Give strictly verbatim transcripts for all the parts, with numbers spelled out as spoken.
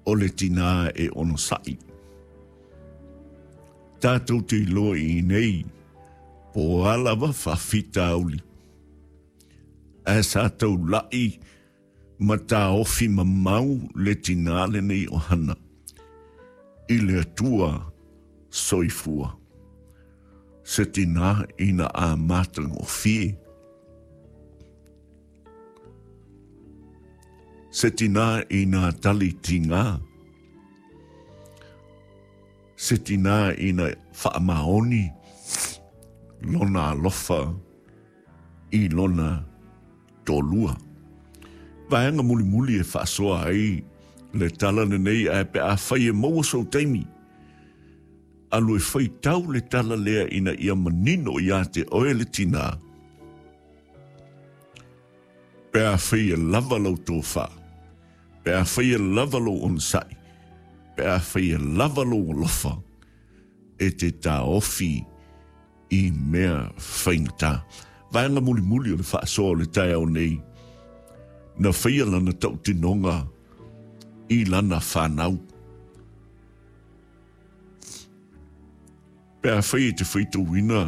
O le tinā e onosai. Tātou te iloa i nei, po o a lava faafitauli. Ae sa taulai ma taofi mamau le tinā lenei o Hana i le Atua soifua. Se tinā ina a matagofie. Se tinā ina tali tingā. Se tinā ina whaamaoni lona alofa i lona tolua. Vaega mulimuli e faasoa ai le tala lenei ae pe afai e maua sou taimi. Alu e faitau le tala lea ina ia manino ia te oe le tinā. Pe afai e lava lau tofā, pe afai e lava lou onosai, pe afai e lava lou alofa, e te taofi i mea faigata. Vaega mulimuli o le faasoa o le taeao nei, na faia lana tautinoga i lana whanau. Pe afai e te faitauina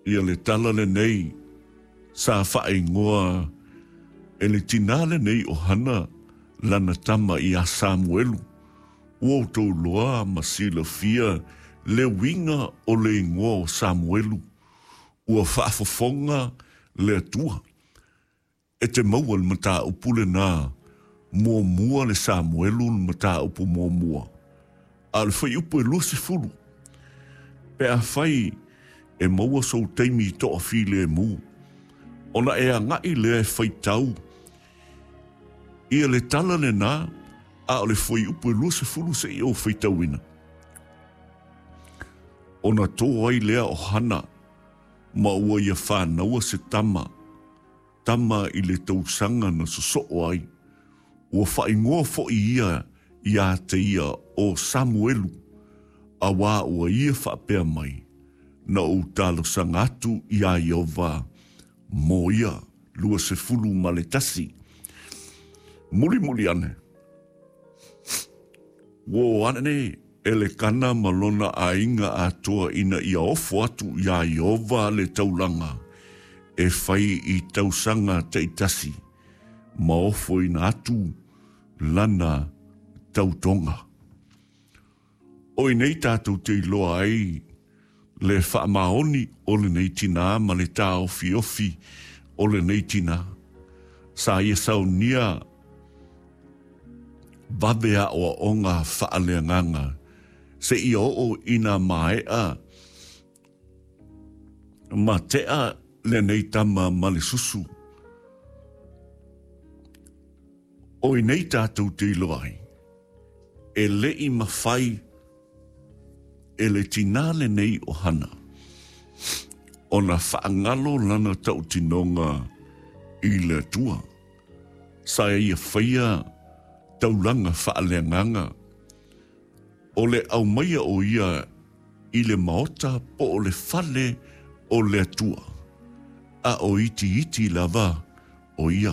ia le tala lenei sa whaingoa e le tinā lenei o Hana lana tama i a Samuelu. Ua outou loa ma silafia le uiga o le ingoa o Samuelu. Ua faafofoga le Atua. E te maua le mataupu lenā muamua le Samuelu le mataupu muamua. A o le fuaiupu e luasefulu. Pe afai e maua sou taimi i toafilemu. Ona e agai lea e faitau ia le tala lenā a o le fuaiupu e luasefulu seia ou faitauina. Ona tō ai lea o Hana ma ua ia whānaua se tama, tama i le tausaga na sosoo ai. Ua whaingoa fo'i ia ia te ia o Samuelu, a wā ua ia whaapea mai, na ou talosaga atu iā Ieova mo ia, luasefulu ma le tasi. Mulimuli ane. Ua o ane Elekana ma lona aiga atoa ina ia ofo atu iā Ieova le taulaga e fai i tausaga taitasi ma ofoina atu lana tautoga. O i nei tātou te iloa ai le faamaoni o lenei tinā ma le taofiofi o lenei tinā. Sa ia saunia vave aoaoga faaleagaga seia oo ina maea ma tea lenei tama ma le susu. O i nei tātou te iloa ai, e le'i mafai e le tinā lenei o Hana ona faagalo lana tautinoga i le Atua. Sa ia faia taulaga faaleagaga o le aumaia o ia i le maota po o le fale o le Atua. A o itiiti lava o ia.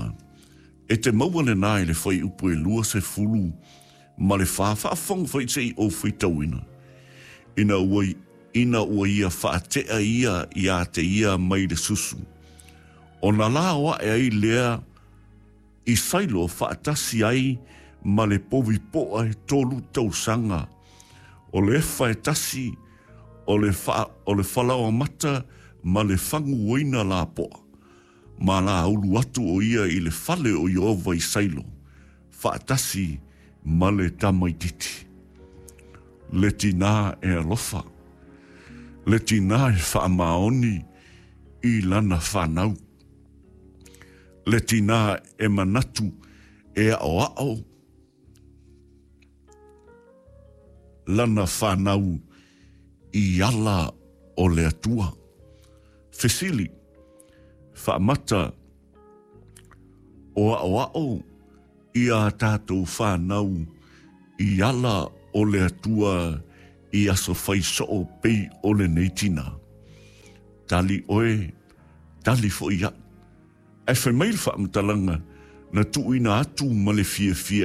E te maua lenā i le fuaiupu e luasefulu ma le fa, faafofoga foi seia ou faitauina. Ina ua, ina ua ia faatea ia ia te ia mai le susu. Ona lao ae ai lea i Sailo faatasi ai ma le povi poa e tolu tausaga. O le efa e tasi, o le, fa, o le falaoamata ma le faguina lapoa. Ma la ulu atu o ia i le fale o Ieova i Sailo, faatasi ma le tamaititi. Le tinā e alofa, le tinā e faamaoni i lana whanau. Le tinā e manatu e aoao lana whanau i ala o le Atua. Fesili, faamata o aoao i a tātou whanau i ala o le Atua i aso fai soo pei o lenei tinā. Tali oe, tali fo'i a'u. Ae fai mai le faamatalaga na tuuina atu ma le fiafia.